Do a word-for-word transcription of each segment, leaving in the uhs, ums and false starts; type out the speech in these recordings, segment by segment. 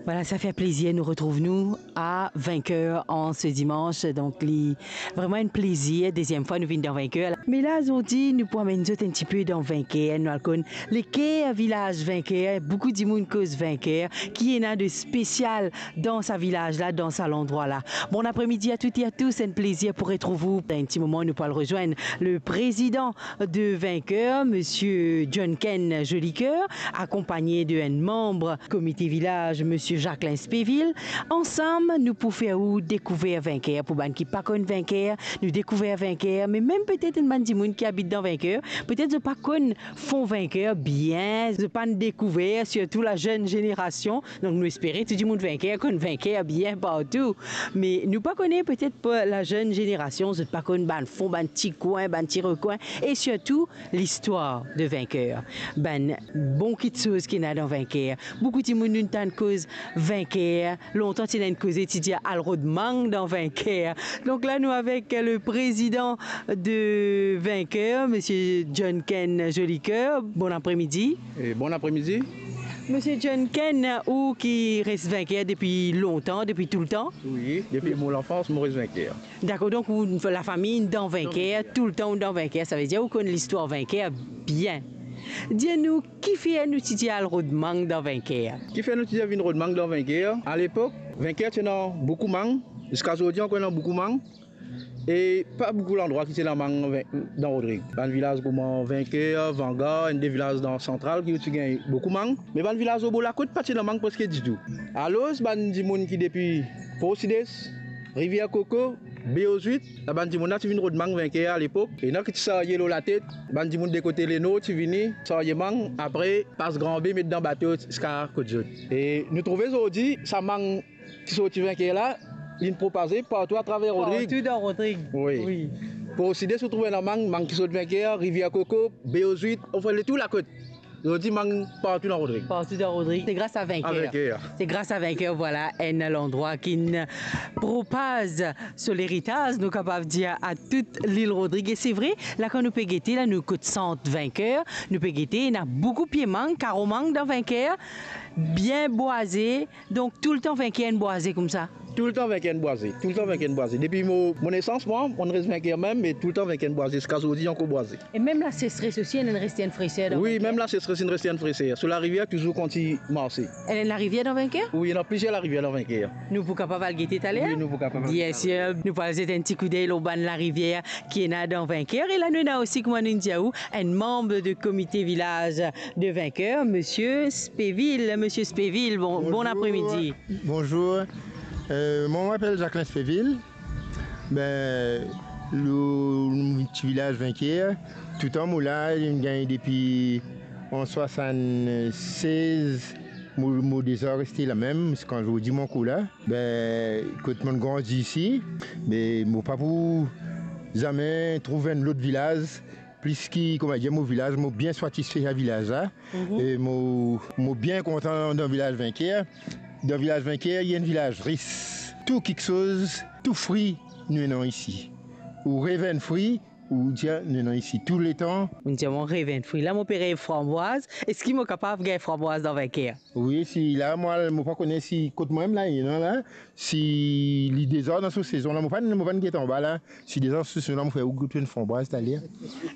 Voilà, sa fer plezir nou retrouv nou a Vainqueur an se dimans. Donk, li vreman enn plezir, deziem fwa nou vinn dan Vainqueur. Me la, zordi, nou pou amenn zot enn tipe dan Vainqueur, nou al konn leker vilaz Vainqueur, boukou dimoun koz Vainqueur, ki ena de spesial dan sa vilaz la, dan sa landrwa la. Bon apremidi a toutes et à tous, enn plezir pou retrouv ou. Dan enn ti moman, nou pou al rezwenn le prezidan de Vainqueur, Monsieur John Ken Jolicoeur, akonpagne de enn manb komite vilaz, Monsieur Jacquelin Spéville. Ansam, nou pou fer ou dekouver Vainqueur. Pou bann ki pa konn Vainqueur, nou dekouver Vainqueur, me mem petet enn bann dimoun ki abit dan Vainqueur, petet zot pa konn fon Vainqueur bien, zot pa'nn dekouver, sirtou lazenn zenerasion. Donk, nou espere tou dimoun Vainqueur konn Vainqueur bien partou. Me nou pa kone, petet pou lazenn zenerasion, zot pa konn bann fon, bann ti kwin, bann ti rekwin, e sirtou listwar de Vainqueur. Bann bon kitsoz ki ena dan Vainqueur. Boukou dimoun nou tann koz Vainqueur. Lontan ti ena enn koze ti dir al rod mang dan Vainqueur. Donk la, nou avek le prezidan de Vainqueur, Monsieur John Ken Jolicoeur. Bon apremidi. E bon apremidi. Monsieur John Ken, ou ki res Vainqueur depi lontan, depi toultan? Wi, depi mo lanfans, mo res Vainqueur. Dakor, donk ou, lafami dan Vainqueur, toultan ou dan Vainqueur, savedir ou konn listwar Vainqueur bien. Dir nou, kifer nou ti dir al rod mang dan Vainqueur? Kifer nou ti dir vinn rod mang dan Vainqueur? Alepok, Vainqueur ti ena boukou mang, ziska zordi ankor ena boukou mang. E pa boukou landrwa ki ti ena mang dan Rodrig. Bann vilaz kouma Vainqueur, Vangar, enn de vilaz dan Santral ki ti gagn boukou mang. Me bann vilaz lor bor lakot pa ti ena mang preske ditou. Alor, bann dimoun ki depi Port Sides, Rivier Koko, Baie aux Huîtres, sa bann dimoun la ti vinn rod mang Vainqueur alepok. Ena ki ti sarye lor latet, bann dimoun de kote Lenor ti vini sarye mang, apre pas Gran Be, met dan bato ziska kot zot. E nou trouve zordi sa mang ki sorti Vainqueur la, linn propaze partou atraver Rodrig. Partou dan Rodrig. Wi. Wi. Port Sides ou trouve ena mang, mang ki sort Vainqueur, Rivier Koko, Baie aux Huîtres, anfin, le tou lakot. Zordi mang partou dan Rodrig. Partou dan Rodrig. Se gras a Vainqueur. A Vainqueur. Se gras a Vainqueur, vwala, enn landrwa ki'nn propaz so leritaz, nou kapav dir, a tout lil Rodrig. E se vre, la kan nou pe gete, la nou kot sant Vainqueur, nou pe gete, ena boukou pie mang, karo mang dan Vainqueur, bien bwaze, Donk, toultan Vainqueur enn bwaze koumsa? Toultan Vainqueur enn bwaze, toultan Vainqueur enn bwaze. Depi mo, mo nesans, mwa, mo res Vainqueur mem, me toultan Vainqueur enn bwaze, ziska zordi ankor bwaze. E mem lasesres osi, ena enn reste enn freser dan Vainqueur? Wi, mem lasesres ena reste enn freser. So larivier touzour kontign marse. Ena enn larivier dan Vainqueur? Wi, ena plizier larivier dan Vainqueur. Nou pou kapav al gete taler? Wi, nou pou kapav al gete taler. Bien sir, nou pou al zet enn ti koudey lor bann larivier ki ena dan Vainqueur. E la nou ena osi, kouma nou dir ou, enn manb de komite vilaz de Vainqueur, Monsieur Spéville. Monsieur Spéville, bon, bon apremidi. Bonzour. Euh, mwa, mo apel Jacquelin Spéville. Be, lor, lor ti vilaz Vainqueur, toutan mo la, mo gagn depi an swasann-sez, mo, mo deza reste la mem, ziska zordi mo ankor la. Be, kot mo'nn grandi isi, me mo pa pou zame trouv enn lot vilaz plis ki, kouma dir, mo vilaz, mo bien satisfe sa vilaz la. Mhm. E mo, mo bien kontan dan vilaz Vainqueur. Dan vilaz Vainqueur, li enn vilaz ris. Tou kiksoz, tou fri, nou ena isi. Ou rev enn fri, ou dir, nou ena isi tou letan. Ou dir, mo rev enn fri. La, mo pe rev franbwaz. Eski mo kapav gagn franbwaz dan Vainqueur? Wi, si la, mwa, mo pa kone si kot mwa mem la, ena la, si li deza dan so sezon la, mo pa'nn, mo pa'nn get anba la, si deza so sezon la, mo fer ou gout enn franbwaz taler.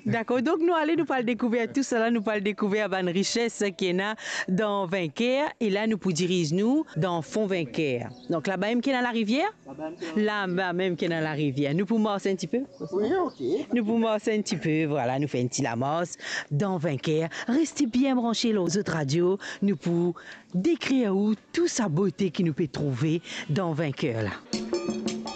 Dakor, donk nou ale, nou pou al dekouver tousala, nou pou al dekouver bann rises ki ena dan Vainqueur, e la nou pou diriz nou dan fon Vainqueur. Donk laba mem ki ena larivier? Laba mem ki ena larivier. Nou pou mars enn tipe? Wi, ok. Nou pou mars enn tipe, vwala, nou fer enn ti lamars dan Vainqueur. Reste bien branche lor zot radio, nou pou dekrir ou tou sa bote ki nou pe trouve dan Vainqueur la.